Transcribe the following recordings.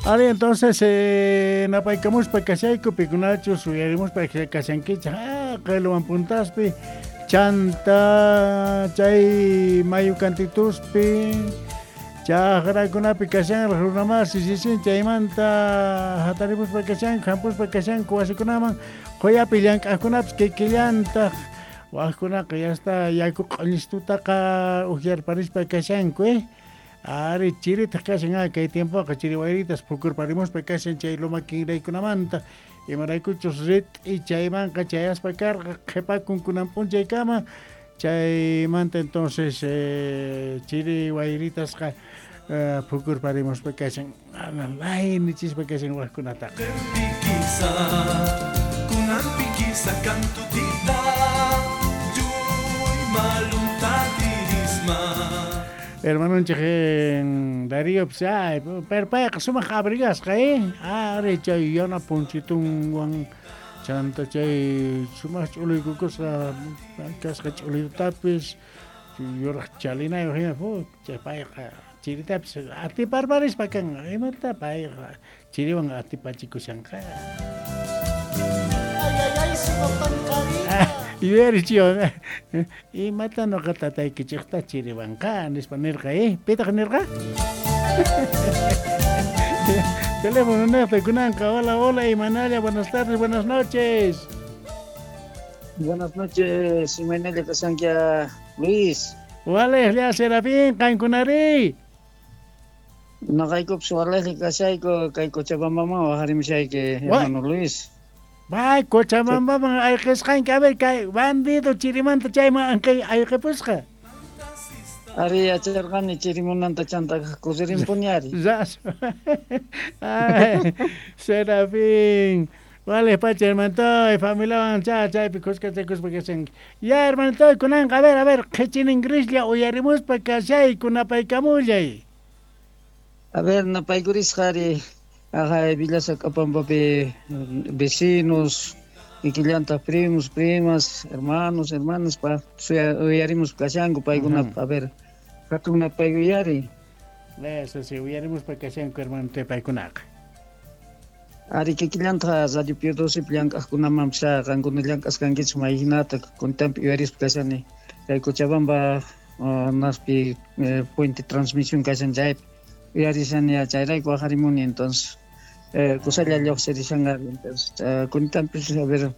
Ari, entonces, napaykamuspa kashayku, pikunachus uyarimuspa kashankichej, qeluwan puntaspi, chanta chay mayu kantituspi, chajrakunapi kashanraj runamasi sisin chaymanta hatarimuspa kashanku, hampuspa kashanku wasikunaman, qoyapi llank'ajkunapis kikillantaj, wajkunaqa ya está yaku q'oñistutaqa ukyarparispa kashanku, Ari, chiritaj kashan, kay tiempoqa chiri wayritas phukurparimuspa kashan chay loma kinraykunamanta, imaraykuchus rit'i chaymanqa chayaspa karqa qhepakun kunan p'unchaykama, chaymanta entonces chiri wayritasqa phukurparimuspa kashan, laynichispa kashan wajkunataqa. Hermanonchej Darío, pues, ay, pero payqa sumaq abrigasqa, Ari, chay yana punchitunwan, chanta chay sumaq ch'uluykukusqa kasqa ch'uluytapis, yuraj chalinayuq hina, chay payqa chiritapis atiparparispa kanqa, imata payqa chiriwan atipachikushanqa. Ay, ay, ay, sumaq pankarita. Yuyarichiwan, imata noqa tataykichejta chiriwanqa, nispa nirqa, Pitaq nirqa? Teléfono nejta kunanqa. Hola, hola, Imanalla, buenas tardes, buenas noches. Buenas noches, Imanalla kashankia, Luis. Walejlla, Serafín, qankunari. Noqaykupis walejlla kashayku, kay Cochabambaman wajarimushayki, hermano Luis. Bay, Cochabambaman ayqisqanki, a ver, kay bandido chirimanta chayman ayqipusqa. Ari, yacharqani chirimunanta chanta kusirinpuni ari. Ras. Ay, Serafín. Vale, pacha, hermanitoy, familiawan chaypi khuskachakuspa kashanki. Ya, hermanitoy, kunanqa, a ver, qhichinin grislla uyarimuspa kashayku, napaykamullay. A ver, napaykurisqa ari. Ajá, Villa Sacapambapi vecinos, kikillanta primos, primas, hermanos, hermanas, pa, uyarimos kashanku, paykuna, a ver, hatun napaykuyari. Eso sí, uyarimos pa kashanku, hermano, te paykunaqa. Ari, kikillanta Radio Pio 12 llank'ajkunaman pisa, qankuna llank'asqankichik mayhinata, kuntampi uyarispa kashani. Kay Cochabamba, naspi, puente transmisión kashan chaypi. Uyarishani chayrayku wajarimuni, entonces, kusalla lluqsirishanqa, entonces, kuntampis, a ver,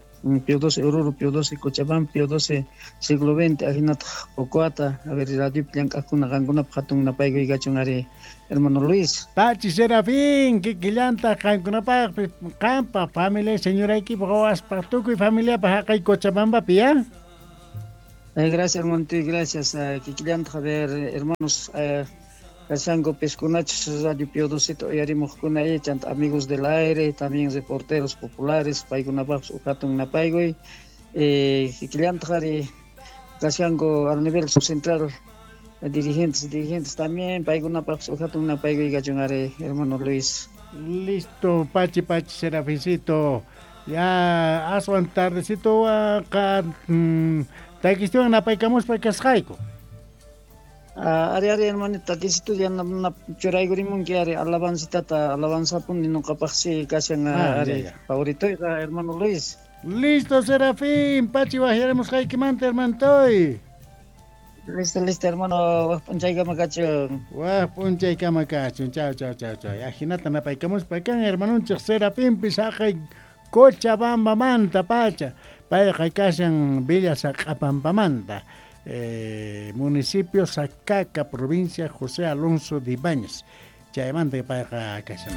Pio 12 Oruro, Pio 12 Cochabamba, Pio 12 siglo XX, ajinataq Ocoata, a ver, radiopi llank'ajkuna qankunapaq hatun napaykuykachun ari, hermano Luis. Pachi Serafín, kikillanta qankunapaqpis, qanpaq familia, señoraykipaq, wawaspaq, tukuy familiapaq haqay Cochabambapi, ya? Gracias, hermano, gracias. Kikillanta, a ver, hermanos, kashanku piskunachus Radio Pio 12 uyarimujkuna, chanta amigos del aire, también reporteros populares, paykunapaqpis uj hatun napaykuy. Kikillantaq ari kashanku al nivel subcentral, dirigentes también, paykunapaqpis uj hatun napaykuy kachun ari, hermano Luis. Listo, pachi, pachi, Serafincito. Ya, aswan tardecito, qa, takistiwan napaykamuspa kasqayku. Ari, ari, hermanita, takisito ya na churaykurimunki, ari, alabancitata, alabanzapuni noqapaqsi kashan, ari, favoritoyqa, hermano Luis. Listo, Serafín, pachi wajyarimusqaykimanta, hermantoy. Listo, listo, hermano, waj p'unchaykama kachun. Waj p'unchaykama kachun, chao, chao, chao, chao. Ajinata napaykamuspa kan, hermanonchej Serafinpis haqay Cochabambamanta pacha. Payqa kashan Villa Saq'apampamanta. Municipio Sacaca, provincia José Alonso de Ibáñez. Chaymanta payqa kashan.